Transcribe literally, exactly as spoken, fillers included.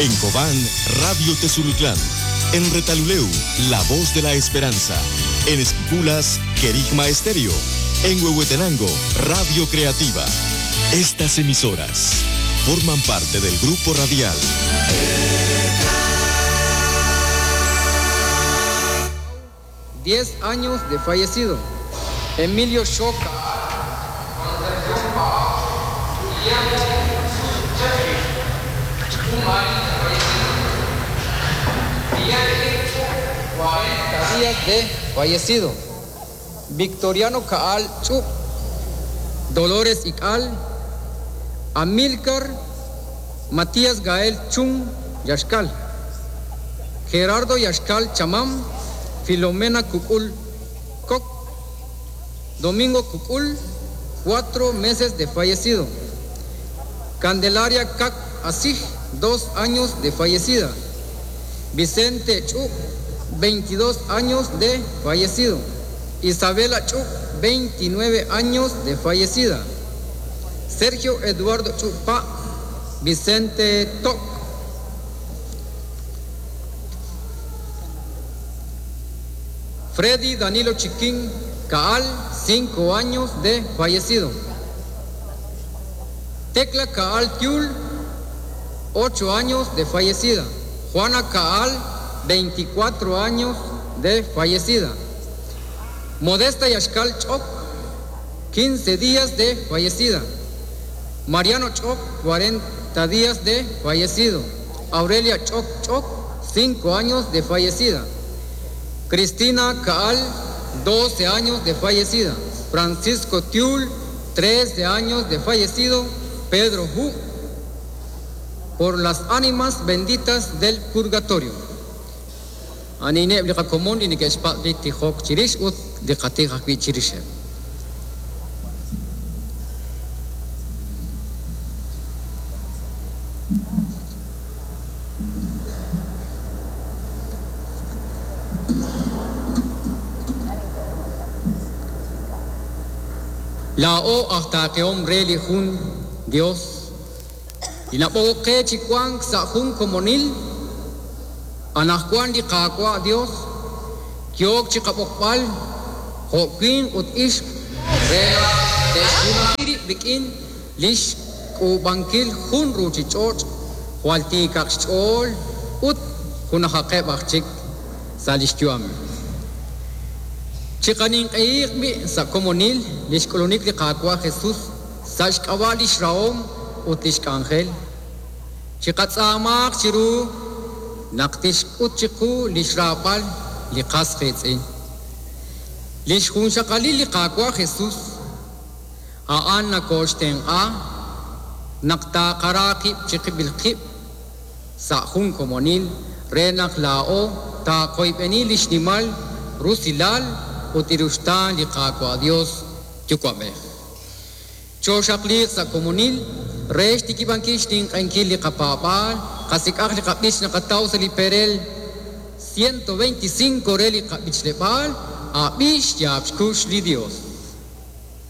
En Cobán, Radio Tezulutlán. En Retaluleu, La Voz de la Esperanza. En Esquipulas, Querigma Estéreo. En Huehuetenango, Radio Creativa. Estas emisoras forman parte del grupo radial. Diez años de fallecido. Emilio Xoca. cuarenta días de fallecido. Victoriano Caal Chup, Dolores Ical, Amílcar Matías Gael Chung Yaxcal, Gerardo Yaxcal Chamam, Filomena Cucul Coc, Domingo Cucul, cuatro meses de fallecido. Candelaria Cac Asij, dos años de fallecida. Vicente Chu, veintidós años de fallecido. Isabela Chu, veintinueve años de fallecida. Sergio Eduardo Chupa, Vicente Toc. Freddy Danilo Chiquín Caal, cinco años de fallecido. Tecla Caal Tiul, ocho años de fallecida. Juana Caal, veinticuatro años de fallecida. Modesta Yaxcal Choc, quince días de fallecida. Mariano Choc, cuarenta días de fallecido. Aurelia Choc Choc, cinco años de fallecida. Cristina Caal, doce años de fallecida. Francisco Tiul, trece años de fallecido. Pedro Ju, por las ánimas benditas del purgatorio. Anine liqa común ni que espatli tijok chirish ut liqatijak bi chirishe. La o hasta que hombre lijun Dios. Y la o que chicuan sajun comonil. Anajkuan li qaawa' Dios, yook chi qab'oqb'al, jo'win ut ixq re te'xjunajiri rik'in lix k'uub'ankil jun ruuchich'och' jwal tiikaq xch'ool ut junajaqeb' aj chik sa' lix yu'am. Chiqaninq'ehiq bi' sa' komonil lix k'ulunik li qaawa' Jesús sa' xk'ab'a' lix rahom ut lix k'anjel. Chiqatz'aamaq chiru naq tixk'ut chiqu lix raab'al li qas qiitz'in. Lix junxaqalil li qaawa' Jesús a'an nakooxtenq'a naq taaqara qib' chiqib'il qib' sa' jun komonil re naq laa'o taaqoyb'eni lix nimal rusilal ut iruxtaan li qaawa' Dios yuwa'b'ej. Chooxaqliiq sa' komonil re xtikib'ankil xtinq'ankil li qapaab'aal qasik'aj li qab'ich naqataw sa' li perel ciento veinticinco re li qab'ichleb'aal ab'ix yaab' xkux li Dios.